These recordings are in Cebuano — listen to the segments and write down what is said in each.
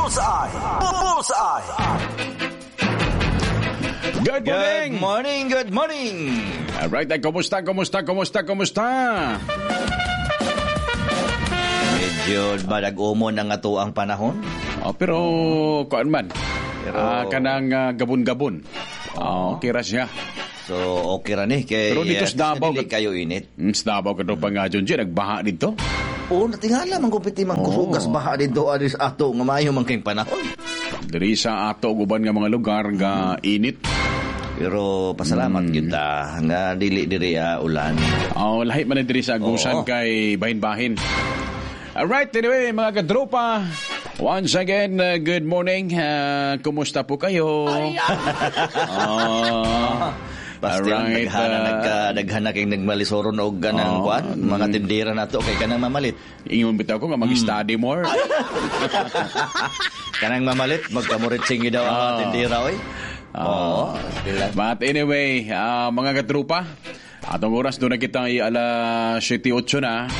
Bullseye. Bullseye. Good morning! Good morning, good morning! Alright, kumusta, kumusta, kumusta, kumusta? Medyo badag-umo na nga to ang panahon. Oh, pero, kuan man. Pero- Kanang gabon-gabon. Oh, okay ra siya. So, okay ra ni. Kay, Pero dito sa Davao, dili kayo init. Sa Davao ka pa nga dyan, nagbaha dito. Oo, natingala, man kupiti man kusugas baha dito aris ato nga maayo man kayong panahon. Diri sa ato guban nga mga lugar nga init. Pero pasalamat kita nga dili diri ulan. Oh, lahi man na diri sa Agusan kay bahin-bahin. Alright, anyway, mga kadropa, once again, good morning. Kumusta po kayo? Oh, Basta alright, daghana nagka daghana kay nagmalisoron og ganang kuan, mga tindera nato kay kanang mamalit. Ingon bitaw ko nga mag-study more. Kanang mamalit magkamurit singi daw ang mga tindera oy. Oo. Sila. But anyway, mga katrupa, atong oras doon na kita ay alas 7:08 na.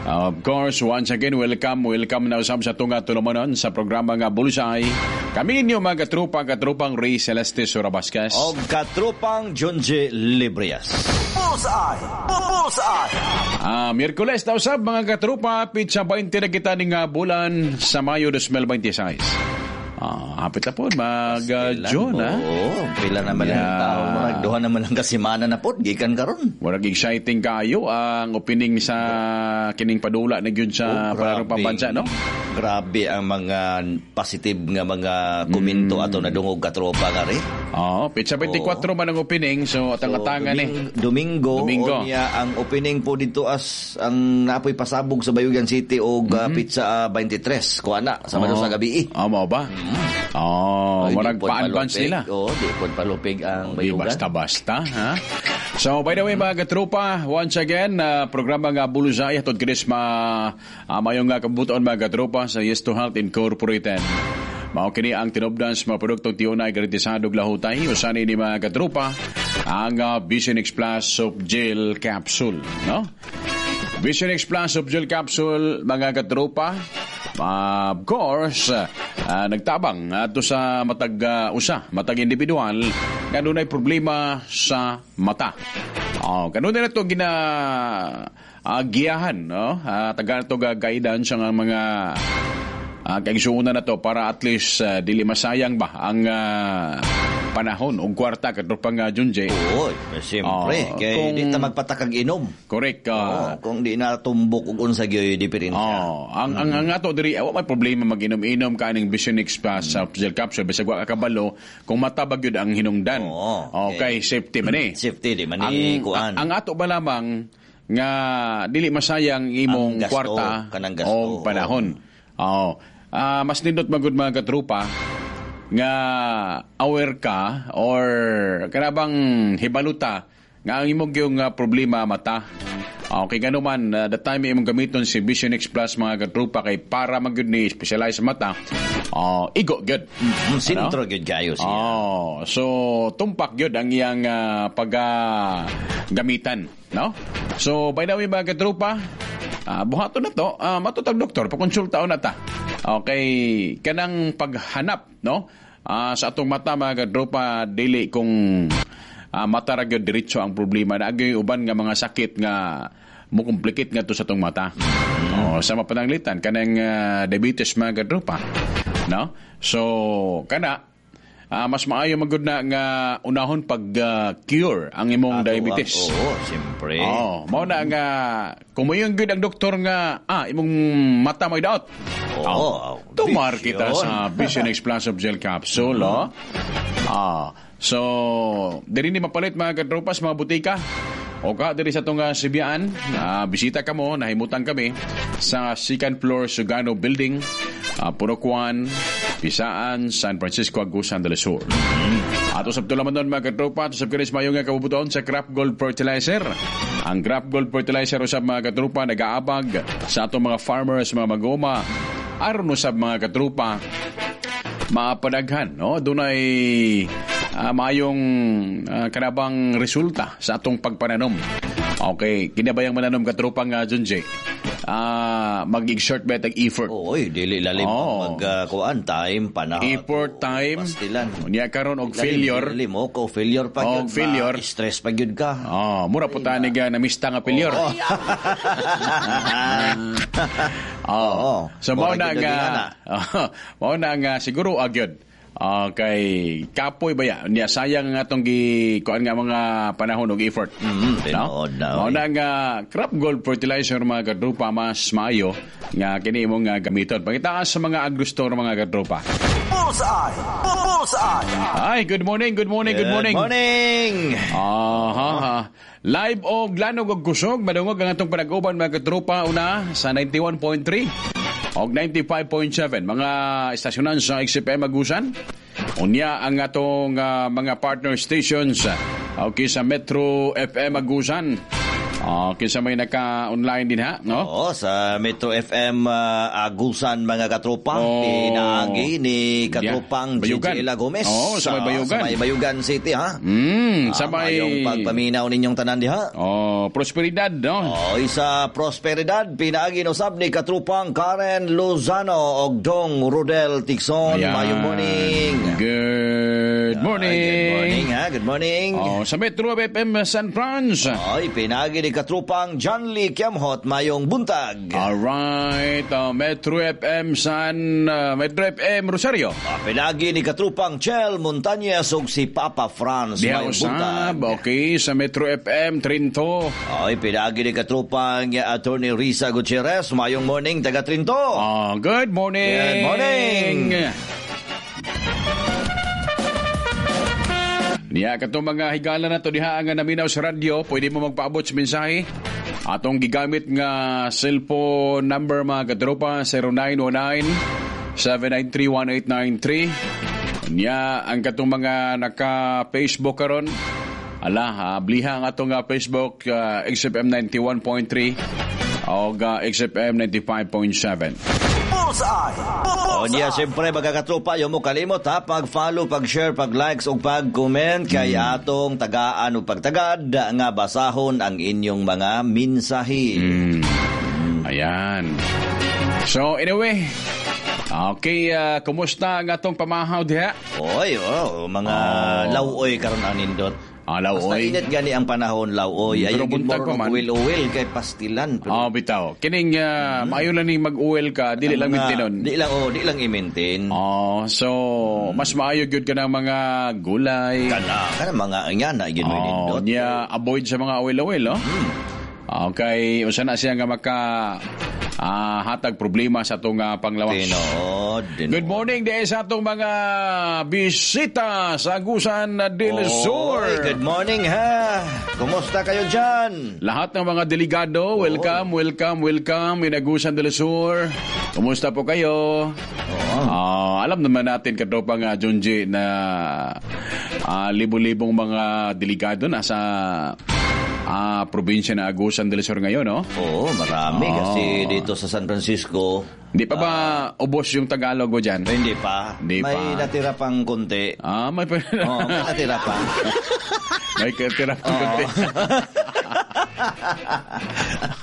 Of course, once again, welcome, welcome na usab sa tunga tulumanon sa programa nga Bullseye. Kami ninyo mga katrupa, katrupang Ray Celeste Surabasquez. Og katrupang Junji Librias. Bullseye. Bullseye. Miyerkules na usab mga katrupa, pitsa 20 na kita ning bulan sa Mayo 2026. Hapit na po, mag June, ha? Oo, pila naman lang ang tao. Mga duha naman lang kasimana na po, gikan karon. Murag exciting kayo ang opening sa kining padula na gyud sa Oh, Palarong Pambansa, no? Grabe ang mga positive nga mga komento ato nadungog katropa nga rin. Oo, pitsa 24 man ang opening, so atang-atangan eh. Domingo, Domingo. Unya, ang opening po dito as ang napoy pasabog sa Bayugan City og pizza 23 kuha na sa sa gabi. Oh, mao ba? Oh, Ay, di murag pod pa-advance palupig. nila. Oo, di pod palupig ang Di Bayugan. basta-basta, ha? So, by the way, mga katropa, once again, programa nga Bulusay, atod kinis ma, mayong nga kabutuan mga katropa sa Yes to Health Incorporated. Mao kini ang tinubdan sa mga produktong tiunay garantisado lahutay usan ni mga katropa ang Vision X Plus Soap Gel Capsule, no? Vision X Plus Soap Gel Capsule, mga katropa, of course, nagtabang ato sa matag usa, matag individual nga dunay problema sa mata. Oh, kanunay na to gina giyahan, no? Taga to ga guidance ang mga kaigsuonan na to para at least dili masayang ba ang panahon ug kwarta katropa nga Junjay. Oo, siyempre. Oo, kay di ta magpatakag inom. Correct. Oo, kung di natumbok og unsa gyoy diferensya. Oh, ang ato diri wa may problema mag-inom-inom kaning Vision X Plus sa gel capsule bisag wa ka kabalo kung matabag gyud ang hinungdan. Oo, Okay, safety man eh. Safety di man ni kuan. Ang ato ba lamang nga dili masayang imong Ang gasto, kwarta kanang gasto, o panahon. Oo. Mas nindot magud mga katrupa nga aware ka or kanabang hibaluta nga ang imong yung problema mata. Okay, gano man, the time imong gamiton si Vision X Plus mga katrupa kay para magyud ni specialize sa mata. Igo gyud. Sintro gyud kayo siya. Oh, so tumpak gyud ang iyang paggamitan, no? So by the way mga katrupa, buhaton na to, matutag doktor, pakonsulta na ta. Okay, kanang paghanap, no? Sa atong mata mga katrupa, dili kung mata ra gyud diretso ang problema na agyoy uban nga mga sakit nga mukomplikate nga to sa atong mata. Oh, sa mapananglitan kanang diabetes mga katrupa, no? So kana mas maayo magud na nga unahon pag cure ang imong Ato diabetes. Oo, siyempre. Oh, mao na nga kung moingon gyud ang doktor nga imong mata mo'y daot. Oo, Tumar vision. kita sa Vision X Plus of Gel Capsule, oh. So, diri ni mapalit mga katropas, mga butika. O ka, diri sa itong Sibian, bisita ka mo, nahimutan kami sa second floor Sugano Building, Purokuan, Pisaan, San Francisco, Agusan del Sur. At usap to laman doon mga katropa, at usap kinis mayong nga kabubuton sa Crop Gold Fertilizer. Ang Crop Gold Fertilizer usap mga katropa, nag-aabag sa atong mga farmers, mga magoma, aron usap mga katropa, mapadaghan, no? Dunay maayong kanabang resulta sa atong pagpananom. Okay, kinabayang mananom katropa nga Junjay. Mag-exert ba tag effort? Oy, dili lalim Oo. mag kuan time panahon. Effort, time. Pastilan. Unya karon og Lalim, failure. Lalim o ko failure pa Og gyud. failure. Stress pa gyud ka. Oh, mura po tani ga namista nga failure. Oh. Oo. So mao Mura na gyud nga ang ingana. mao na nga siguro agyod. Kay kapoy ba ya? Niya sayang nga atong gi kuan nga mga panahon og effort. Tinuod na, Mao oy. na nga crop gold fertilizer, mga kadrupa, mas maayo nga kini imong nga gamiton. Pangitaas sa mga agro-store, mga kadrupa. Bullseye! Bullseye! Ay, good morning, good morning, good morning. Good morning. Aha. Live og lanog og kusog madungog ang atong panag-uban, mga katropa, una sa 91.3 og 95.7 mga estasyonan sa XFM Agusan. Unya ang atong mga partner stations, okay, sa Metro FM Agusan. Okay, sa may naka-online din ha, no? Oo, sa Metro FM Agusan, mga katropa, Oo. pinaagi ni katropang Yeah. Bayugan. Gigi Ela Gomez. Oo, sa may Bayugan. Sa may Bayugan City, ha? Sa may Mayong pagpaminaw ninyong tanan diha. Oh, Prosperidad, no? Oh, sa Prosperidad, pinaagi no sab ni katropang Karen Lozano og Dong Rodel Tixon. Ayan. Mayong morning. Good morning. Good morning, ha? Good morning. Oh, sa Metro FM San Franz. Ay, pinaagi ni katrupang John Lee Kiamhot, mayong buntag. Alright, Metro FM Metro FM Rosario. Pinagi ni katrupang Chel Montañez ug si Papa Franz, Diha mayong usab, buntag. Okay, sa Metro FM Trinto. Ay, pinagi ni katrupang Attorney Risa Gutierrez, mayong morning taga Trinto. Oh, good morning. Good morning. Niya katong mga higala na to diha nga naminaw sa radyo, pwede mo magpaabot sa mensahe. Atong gigamit nga cellphone number, mga katropa, 0919 7931893. Niya ang katong mga naka-Facebook karon. Ala, bliha ang atong Facebook, XFM 91.3 o XFM 95.7. Bullseye! O niya, Bullseye! siyempre, mga katropa, yung mo kalimot ha, pag-follow, pag-share, pag-likes, o pag-comment kay atong tagaan o pagtagad nga basahon ang inyong mga mensahe. Ayan. So anyway, okay, kumusta ang atong pamahaw diha? Oy, oh, mga lawoy karon ang nindot. Ah, Basta lawoy. init gani ang panahon, lawoy. Pero Ayaw gid buntag mo pa man. uwil-uwil kay pastilan. Pero Ah, bitaw. Kining maayo lang ning mag-uwel ka, dili lang maintinon. Di lang, oh, di lang i-maintain. Oh, so mas maayo gyud ka ng mga gulay. Kana mga nga na gid mo Oh, nindot. niya avoid sa mga oil-oil, no? Okay, usa na siya nga maka hatag problema sa atong panglawas. Tinuod. Tinuod. Good morning di sa atong mga bisita sa Agusan del Sur. Oy, good morning ha. Kumusta kayo dyan? Lahat ng mga delegado, welcome, welcome, welcome in Agusan del Sur. Kumusta po kayo? Alam naman natin, katropa nga Junji, na libo-libong mga delegado nasa probinsya ng Agusan del Sur ngayon, no? Oo, marami kasi dito sa San Francisco. Hindi pa ba ubos yung Tagalog mo dyan? Hindi pa. Hindi may pa. natira pang konti. Ah, may Oo, may natira pa. May tira pang konti.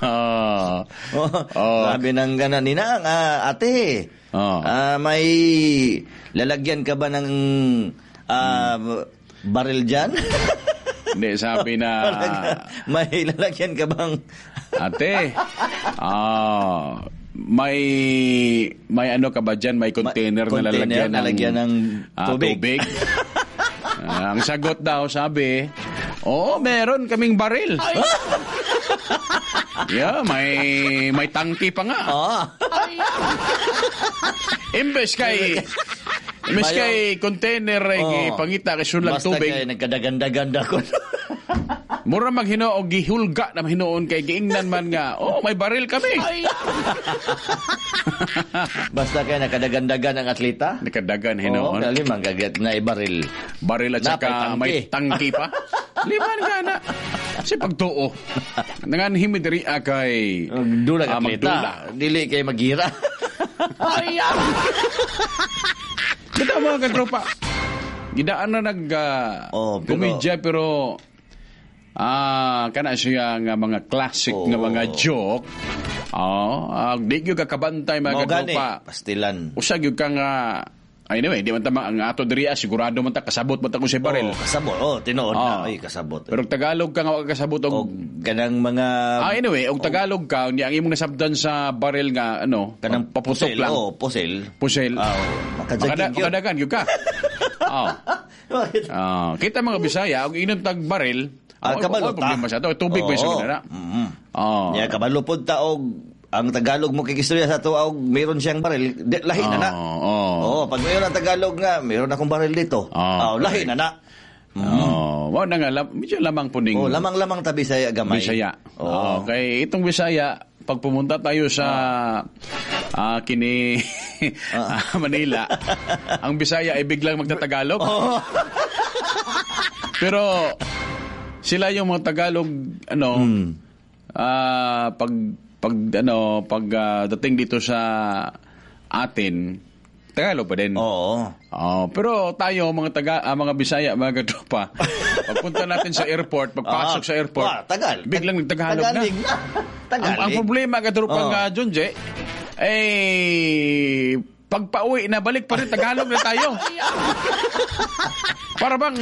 Oh. Sabi ng gana nina, ate, may lalagyan ka ba ng baril dyan? Hindi, sabi na May lalagyan ka bang ate, may may ano ka ba dyan? May container na container lalagyan ng, lalagyan ng tubig. Tubig. Ang sagot daw, sabi, "Oo, meron kaming baril." Yeah, may tangki pa nga. Imbes kay container ay pangita kay sulag Basta tubig. kay nagkadaganda-ganda ko. Mura maghinoo gihulga na hinuon kay giingnan man nga, "Oh, may baril kami." Basta kay nakadagandagan ang atleta. Nakadagan Oo, hinuon. kali manggagat na ibaril. Baril at saka Napay tangki. may tangki pa. Liman ka na. Kasi pagtuo. Nangan himi diri kay Magdula atleta. Magdula. Dili kay magira. Kita mga katropa. Gidaan na nag Oh, komedya pero kana siya nga mga classic nga mga joke. Oo, di gyud ka kabantay mga Mao gani, katropa. pastilan. Usa gyud ka nga anyway, di man ta ang ato diri sigurado man ta kasabot man ta kung sa baril. Oh, kasabot. Oh, tinuod Oo. na. Ay, kasabot. Pero og Tagalog ka nga wa ka kasabot og Og kanang mga anyway, og Tagalog ka unya ang imong nasabdan sa baril nga ano, kanang paputok pusil, lang. Oh, pusil. Pusil. Ah, oh, makajagig yun. Makadagan gyud ka. Oo. Bakit? Kita mga Bisaya, og inom tag baril, Kabalo wa problema ta. sa ato. Tubig ba Oo. sa na. Mm. Oo. Ya kabalo pod ta og ang Tagalog mo kikistorya sa ato og meron siyang baril, di, lahi na na. Oo. Oo, pag mayroon ang Tagalog nga, meron akong baril dito. Oo, Oh, lahi correct. na na. Oo. Mao na nga medyo lamang po ning Oh, lamang-lamang ta Bisaya gamay. Bisaya. Oo. Okay, itong Bisaya, pag pumunta tayo sa kini Manila, ang Bisaya ay biglang magtatagalog. Oo. Pero sila yung mga Tagalog ano pag pag ano pag dating dito sa atin, Tagalog pa din. Oo. Oh, pero tayo mga taga mga Bisaya, mga katropa, pagpunta natin sa airport, pagpasok sa airport, Wah, Tagal. biglang nagtagalog na. Tagalig na. Tagalig. Ang problema katropa Oo. nga Junje, eh pagpauwi na balik pa rin Tagalog na tayo. Para bang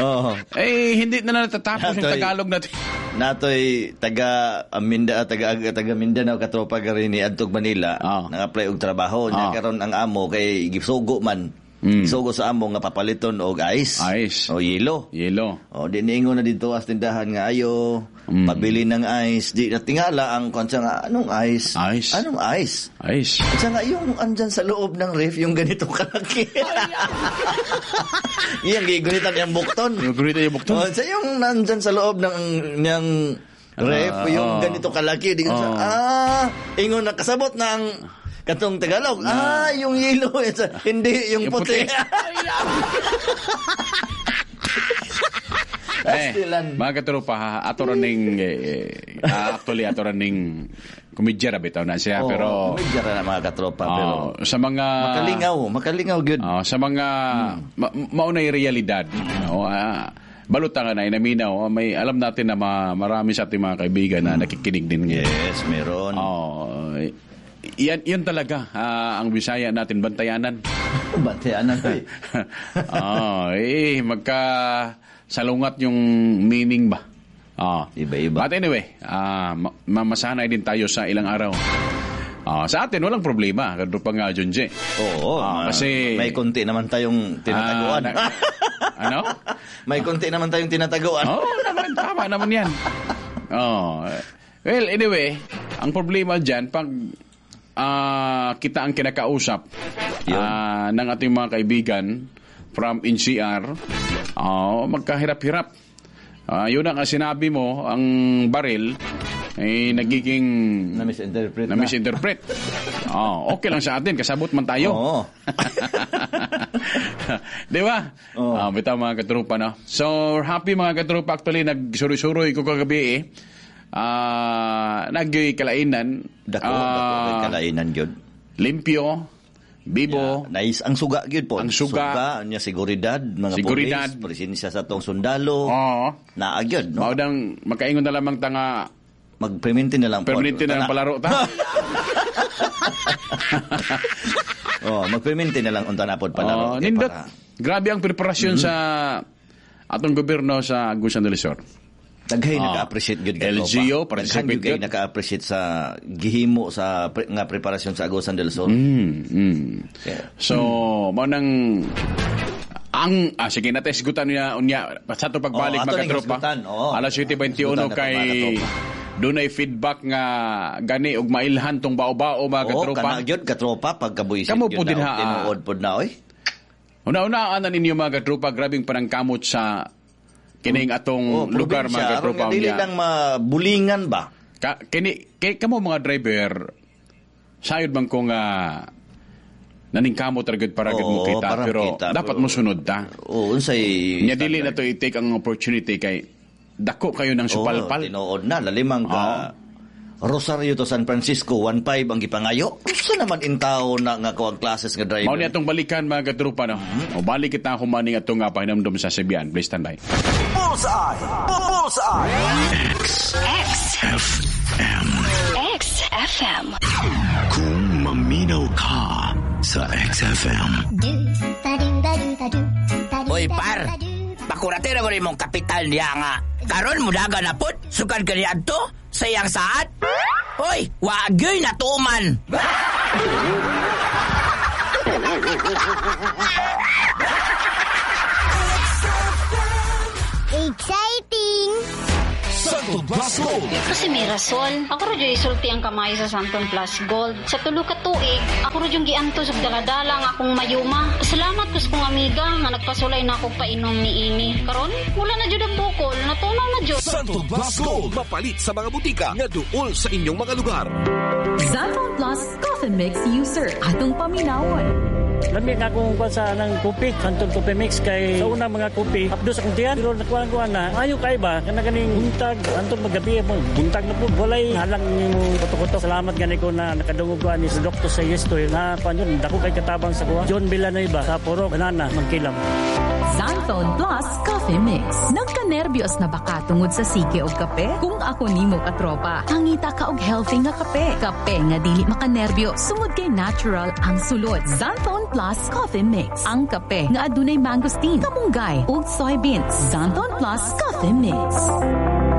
Oo. eh hindi na natatapos yung Natoy. Tagalog natin. Natoy taga Aminda taga taga Mindanao katropa gari ni adtog Manila nang-apply og trabaho niya karon ang amo kay gisugo man. Gisugo sa amo nga papaliton og ice. Ice. O yelo. Yelo. O di niingon na dito as tindahan nga ayo pabili ng ice. Di natingala ang kwansa nga anong ice? Ice. Anong ice? Ice. At nga yung andyan sa loob ng ref, yung ganito kalaki. Iyang gigunitan yung bukton. Yung gunitan yung bukton. Oh, sa yung nandyan sa loob ng ng ref, yung ganito kalaki. Di ko sa, ingon na kasabot ng katong Tagalog. Yung yelo. Hindi, yung Yung puti. puti. Eh, Pastilan. mga katropa, ha, ato ra ning actually ato ra ning komedya ra bitaw na siya Oo, pero medyo ra na mga katropa pero sa mga makalingaw gyud. Sa mga maunay realidad, no? Balota nga na inaminaw, may alam natin na marami sa ating mga kaibigan na nakikinig din ngayon. Yes, meron. Yan, yun talaga ang Bisaya natin bantayanan. Bantayanan. Magka salungat yung meaning ba? Iba-iba. But anyway, masanay din tayo sa ilang araw. Sa atin, walang problema. Ganito pa nga, Junji. Oo. Kasi may konti naman tayong tinataguan. Ano? May konti naman tayong tinataguan. Oo, naman. Tama naman yan. Well, anyway, ang problema dyan, pag kita ang kinakausap ng ating mga kaibigan from NCR, magkahirap-hirap. Yun ang sinabi mo, ang baril ay nagiging na-misinterpret. Na-misinterpret. Okay lang sa atin, kasabot man tayo. Oo. Di ba? Oo. Bitaw mga katropa, no? So, happy mga katropa. Actually, nagsuroy-suroy ko kagabi eh. Nagkalainan. Dako, kalainan yun. Limpyo, bibo. Yeah, nice. Ang suga gyud po. Ang suga. Niya seguridad, mga seguridad. Polis, presensya sa tong sundalo. Oo. Naa gyud, no? Maudang makaingon na lamang ta nga magperminti na lang po. Perminti na lang palaro ta. Magperminti na lang unta na pod palaro. Nindot. Grabe ang preparasyon sa atong gobyerno sa Agusan del Sur. Daghay naka-appreciate gyud ka. LGU, participate gyud naka-appreciate sa gihimo sa nga preparasyon sa Agusan del Sur. Yeah. So, mao nang ang sige natin sigutan niya unya sa ato pagbalik mga katropa. Alas 7:21 kay dunay feedback nga gani og mailhan tong bao-bao mga katropa. Kana gyud katropa pagkabuisit gyud na tinuod pod na oy. Una-una anan ninyo mga katropa, grabing panangkamot sa kining atong lugar mga katropa. Dili lang mabulingan ba? Kini kay kamo mga driver sayod man ko nga naningkamot ra gyud para gyud mo kita pero kita, dapat mo sunod ta. Unsay nya dili na to i-take ang opportunity kay dako kayo ng supalpal. Tinuod na lalimang ka Rosario to San Francisco 1.5 ang gipangayo. Usa naman intaw na nga kuang classes nga driver. Mao ni atong balikan mga katropa, no. O balik kita humaning atong nga pahinumdom sa Sibian. Please stand by. Bullseye. Bullseye. X. X. F. M. X. XFM. Kung maminaw ka sa XFM. Oy par, pakuratero ko rin mong kapital niya nga. Karon mudaga na pod, sukad ka ni adto sa iyang saat. Oy, wagyoy na tuman. Exciting! Santon Plus Gold. Kasi may rason. Ako rin yung isulti ang kamay sa Santon Plus Gold. Sa tulo ka tuig, ako rin yung giantos og daladala ang akong mayuma. Salamat kus kong amiga nga nagpasulay na ako painom ni ini. Karon, wala na jud ang bukol, natunaw na jud. Santon Plus Gold. Mapalit sa mga butika nga duol sa inyong mga lugar. Xanthone Plus Coffee Mix user. Atong paminawon. Lami na akong kuan sa nang kopi, Santon Coffee Mix kay sa unang mga kopi, apdo sa akong tiyan, pero nakuha ko na, ayo kay ba kana ganing buntag, anton magabi mo, buntag na po, walay halang nimo kuto-kuto. Salamat gani ko na nakadungog ko ani sa doktor sa Yesto na kuan yun, dako kay katabang sa kuha. John Villanueva sa Puro, Banana, Mangkilam. Xanthone Plus Coffee Mix. Nagka-nervyos na baka tungod sa sige og kape? Kung ako nimo katropa, hangita ka og healthy nga kape. Kape nga dili makanerbyo, sungod kay natural ang sulod. Xanthone Plus Coffee Mix. Ang kape nga adunay mangosteen, kamunggay ug soybeans. Xanthone Plus Coffee Mix.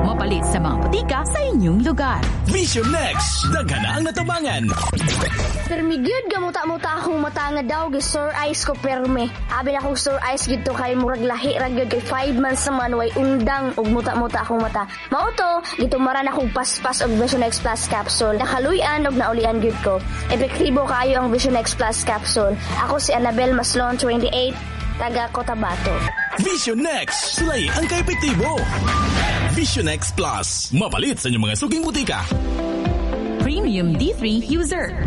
Mapalit sa mga botika sa inyong lugar. Vision Next. Daghan na ang natabangan. Permi gyud gamuta-muta akong mata nga daw gi sore eyes ko perme. Abi na akong sore eyes gid to kay murag lahi ra gyud kay 5 months naman way undang og muta-muta akong mata. Mao to gitumaran akong paspas og Vision X Plus capsule. Nakaluy-an og naulian gyud ko. Epektibo kaayo ang Vision X Plus capsule. Ako si Annabel Maslon, 28, taga Cotabato. Vision Next. Sulay ang kaepektibo. Vision X Plus. Mapalit sa inyong mga suking butika. Premium D3 user.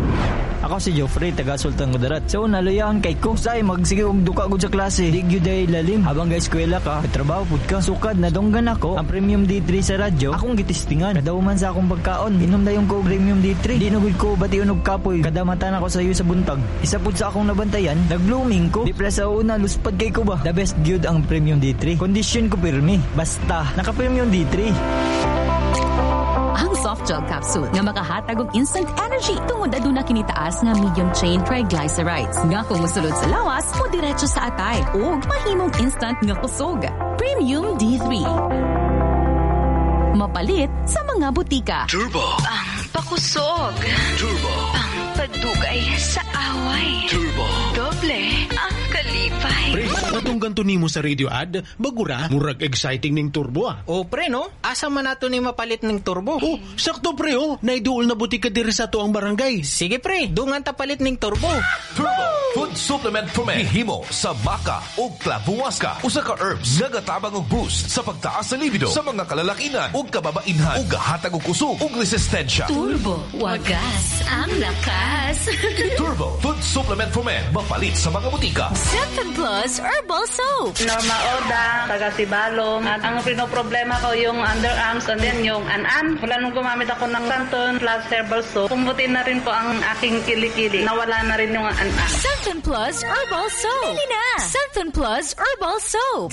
Ako si Joffrey, taga Sultan Kudarat. So, naluyahan kay ko. Say, magsige og duka gud sa klase. Di gyud ay lalim. Habang ga eskwela ka, trabaho pud ka. Sukad nadunggan ako ang Premium D3 sa radyo. Akong gitistingan. Kadauman sa akong pagkaon. Inom dayon ko og Premium D3. Di na gud ko bation og kapoy. Kada mata na ko sa iyo sa buntag. Isa pud sa akong nabantayan, nag-blooming ko. Di pala sa una, luspad kay ko ba? The best gyud ang Premium D3. Condition ko pirmi. Basta, naka Premium D3. Ang soft gel capsule nga makahatag og instant energy tungod aduna kini taas nga medium chain triglycerides nga kung mosulod sa lawas mo diretso sa atay ug mahimong instant nga kusog. Premium D3. Mapalit sa mga butika. Turbo. Pakusog. Turbo. Pagdugay sa away. Turbo. Doble ang kalipay. Pre, katong ganto nimo sa radio ad, bagura, murag exciting ning turbo ah. O pre no, asa man nato ni mapalit ning turbo? Oh, sakto pre oh, naiduol na butika diri sa tuang barangay. Sige pre, dungan ta palit ning turbo. Turbo Food Supplement for Men. Himo sa baka o klabuwaska. Usa ka herbs nga gatabang og boost sa pagtaas sa libido sa mga kalalakinan ug kababainhan ug gahatag og kusog ug resistensya. Turbo, wagas ang lakas. Turbo Food Supplement for Men. Mapalit sa mga butika. Xanthone Plus Herbal Soap. Norma Oda, taga Sibalong. At ang pinoproblema ko yung underarms and then yung an-an. Mula nung gumamit ako ng Xanthone Plus Herbal Soap, pumuti na rin po ang aking kilikili. Nawala na rin yung an-an. Xanthone Plus Herbal Soap. Bili na! Xanthone Plus Herbal Soap.